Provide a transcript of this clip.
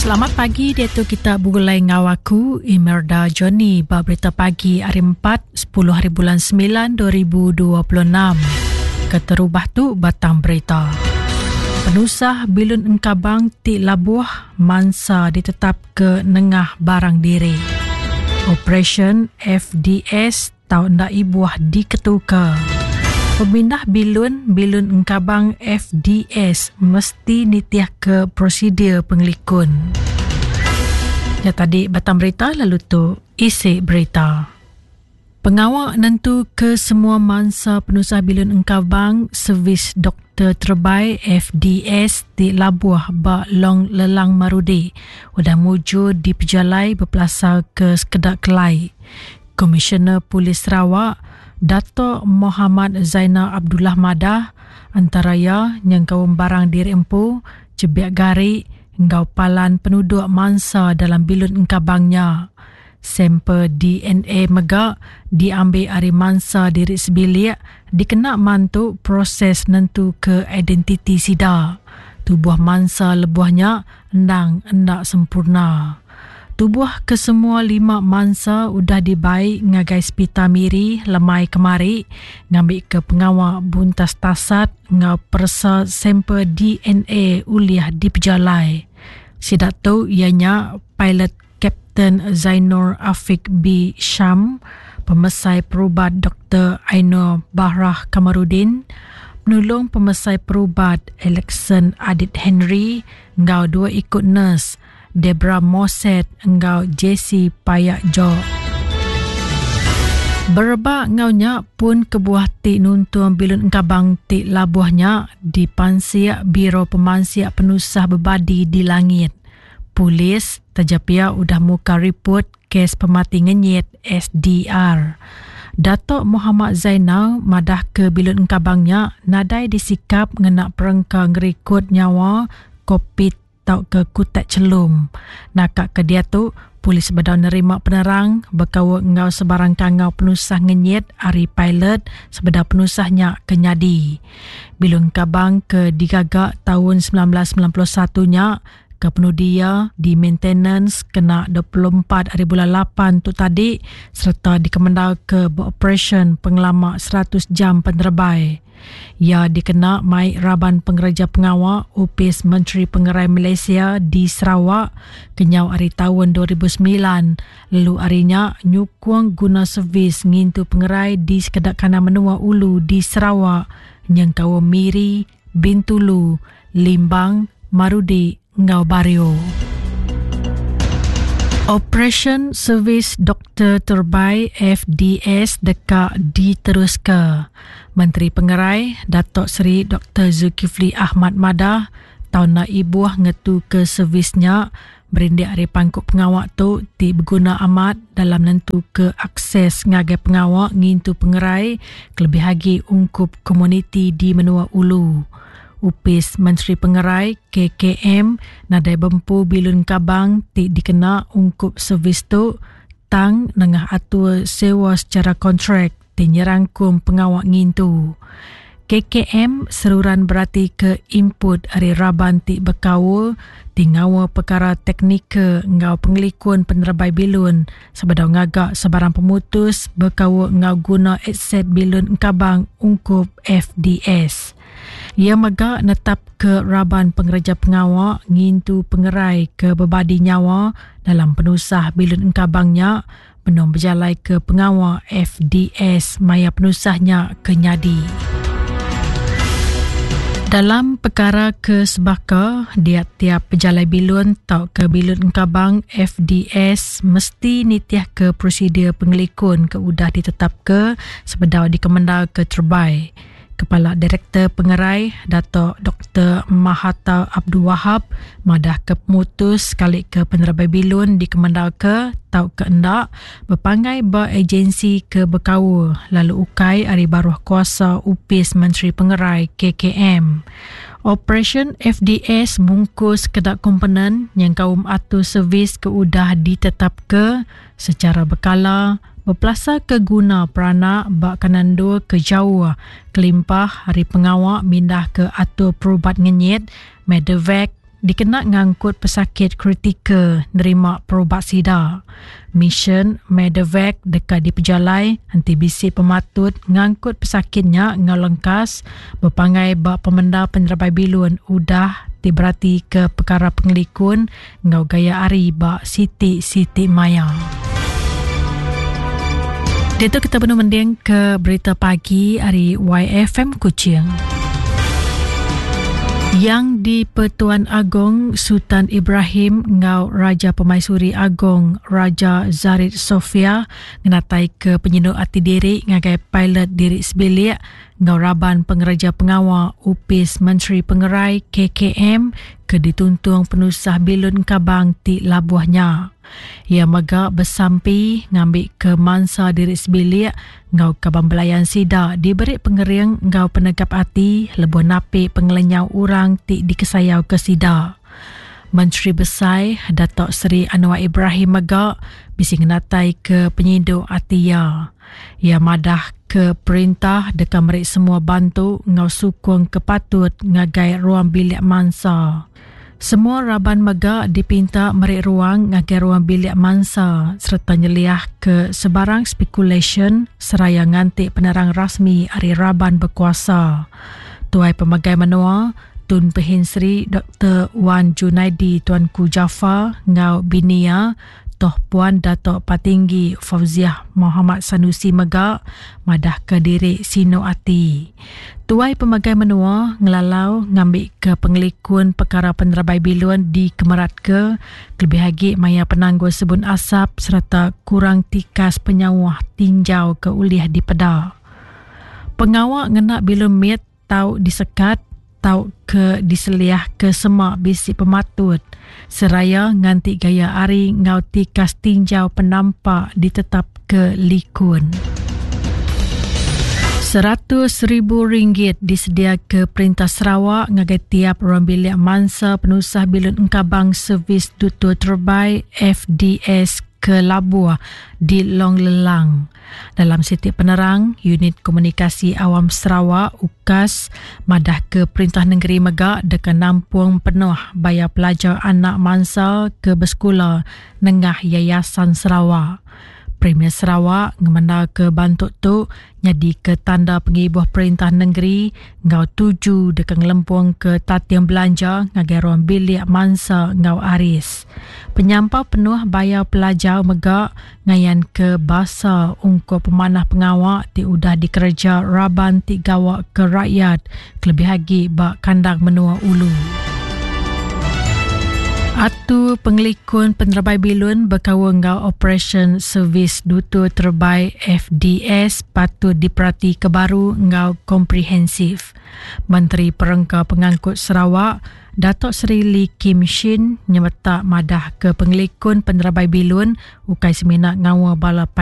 Selamat pagi diatu kita begulai enggau aku Imelda Johnny ba berita pagi hari 4 10 hari bulan 9 2026. Keterubah tu batang berita. Penusah bilun engkabang ti labuh mansa ditetap ke nengah barang diri. Operasyen FDS tau enda ibuh diketuka. Pemindah bilun bilun engkabang FDS mesti nitihka prosedur pengelikun. Nya tadi batang berita lalu tu isi berita. Pengawa nentuka semua mansa penusah bilun engkabang servis doktor terebai FDS ti labuh ba Long Lelang Marudi udah mujur dipejalai bepelasarka sekeda kelai. Komisioner Polis Sarawak, Datuk Mohamad Zainal Abdullah madah, antara iya nyengkaum barang diri empu, chebik gari enggau palan penuduk mansa dalam bilun engkabang nya. Sampel DNA mega diambi ari mansa diri sebilik dikena mantu proses nentuka identiti sida. Tubuh mansa lebuh nya endang enda sempurna. Tubuh kesemua lima mansa udah dibai ngagai Sepital Miri lemai kemari ngambika pengawa buntas tasat enggau peresa sampel DNA ulih dipejalai. Sida tu iya nya pilot Kapten Zainur Afiq B Sham, Pemesai Perubat Doktor Ainur Bahrah Kamarudin, Penulung Pemesai Perubat Alexson Adit Henry enggau dua iku nurse Debra Moset enggau Jesse Payak Jok. Berebak enggau nya pun kebuah ti nuntung bilun engkabang ti labuh nya dipansik Biro Pemansik Penusah Bebadi di Langit. Polis taja pia udah muka riput kes pemati ngenyit SDR. Datuk Mohamad Zainal madahka bilun engkabang nya nadai disikap ngena perengka ngerikut nyawa kokpit tauka kutak chelum. Naka ke diatu, polis bedau nerima penerang bekaul enggau sebarang kangau penusah ngenyit ari pilot sebedau penusah nya ke nyadi. Bilun Kabang ke digaga taun 1991 nya ke penudi iya di maintenance kena 24 hari bulan 8 tu tadi sereta dikemendarka beoperasyen pengelama 100 jam penerebai. Iya dikena mai raban pengereja pengawa Opis Menteri Pengerai Malaysia di Sarawak kenyau ari taun 2009 lalu ari nya nyukung guna servis ngintu pengerai di sekeda kandang menua ulu di Sarawak nyengkaum Miri, Bintulu, Limbang, Marudi enggau Bario. Operasyen Servis Doktor Terbai FDS deka diteruska. Menteri Pengerai, Datuk Seri Doktor Zulkifli Ahmad madah, taun enda ibuh ngetuka servis nya berindik ari pangku pengawa tu ti beguna amat dalam nentuka akses ngagai pengawa ngintu pengerai kelebih agi ungkup komuniti di menua ulu. Opis Menteri Pengerai, KKM, nadai bempu bilun kabang ti dikena ungkup servis tu tang nengah atur sewa sechara kontrak ti nyerangkum pengawa ngintu. KKM seruran beratika input ari raban ti bekaul ti ngaul pekara teknikal enggau pengelikun penerebai bilun sebedau ngaga sebarang pemutus bekaul enggau guna aset bilun engkabang ungkup FDS. Iya mega netapka raban pengereja pengawa ngintu pengerai ke bebadi nyawa dalam penusah bilun engkabang nya benung bejalaika pengawa FDS maya penusah nya ke nyadi. Dalam pekara ke sebaka, dia tiap pejalai bilun tauka bilun engkabang FDS mesti nitihka prosedur pengelikun ke udah ditetapka sebedau dikemendarka terebai. Kepala Direktor Pengerai, Dato Doktor Mahathar Abdul Wahab madahka pemutus sekalika penerebai bilun dikemendarka tauka enda bepanggai ba ejensi ke bekaul lalu ukai ari baruh kuasa Opis Menteri Pengerai, KKM. Operasyen FDS mungkus sekeda komponen nyengkaum atur servis ke udah ditetapka sechara bekala bepelasarka guna peranak ba kanan endur ke jauh kelimpah ari pengawa mindahka atur perubat ngenyit, medevac. dikena ngangkut pesakit kritikal nerima perubat sida. Misyen Medevac deka dipejalai enti bisi pematut ngangkut pesakit nya enggau lengkas bepanggai ba pemendar penerebai bilun udah ti beratika pekara pengelikun enggau gaya hari ba siti-siti maya. Diatu kita benung mending ke berita pagi ari YFM Kuching. Yang di Pertuan Agong Sultan Ibrahim enggau Raja Pemaisuri Agong Raja Zarid Sofia ngenatai ke penyinu ati diri ngagai pilot diri sebilik enggau raban pengereja pengawa Opis Menteri Pengerai KKM ke dituntung penusah bilun engkabang ti labuh nya. Iya mega besampi ngambika mansa diri sebilik enggau kaban belayan sida diberi pengering enggau penegap ati lebuh napi pengelenyau orang ti dikesayauka sida. Menteri Besai Datuk Seri Anwar Ibrahim mega bisi ngenataika penyindu ati iya. Iya madah ke perintah deka meri semua bantu enggau sukung ke patut ngagai ruang bilik mansa. Semua raban mega dipinta meri ruang ngagai ruang bilik mansa sereta nyeliahka sebarang spekulasyen seraya nganti penerang rasmi ari raban bekuasa. Tuai Pemegai Menua, Tun Pehin Sri Doktor Wan Junaidi Tuanku Jaafar enggau bini iya, Toh Puan Datuk Patinggi Fauziah Mohamad Sanusi mega madahka diri sinu ati. Tuai Pemegai Menua ngelalau ngambika pengelikun pekara penerebai bilun dikemeratka kelebih agi maya penanggul sebun asap sereta kurang tikas penyauh tinjau ke ulih dipeda. Pengawa ngena bilun mit tau disekat tauka diseliahka sema bisi pematut seraya nganti gaya hari enggau tikas tinjau penampak ditetapka likun. 100,000 ringgit disediaka Perintah Sarawak ngagai tiap ruang bilik mansa penusah bilun engkabang Servis Dutur Terebai FDS ke Labuh di Long Lelang. Dalam siti penerang, Unit Komunikasi Awam Sarawak, UKAS, madahka perintah nengeri mega deka nampung penuh bayar pelajar anak mansa ke besekula nengah Yayasan Sarawak. Premier Sarawak ngemendarka bantu tu nyadika tanda pengibuh perintah nengeri enggau tuju deka ngelempungka tating belanja ngagai ruang bilik mansa enggau aris. Penyampau penuh bayar pelajar mega ngayanka basa ungkup pemanah pengawa ti udah dikereja raban ti gawa ke rakyat kelebih agi ba kandang menua ulu. Atur Pengelikun Penerebai Bilun bekaul enggau Operasyen Servis Dutur Terebai FDS patut diperatika baru enggau komprehensif. Menteri Perengka Pengangkut Sarawak, Datuk Seri Lee Kim Shin nyemetak madahka pengelikun penerebai bilun ukai semina ngaul bala pilot.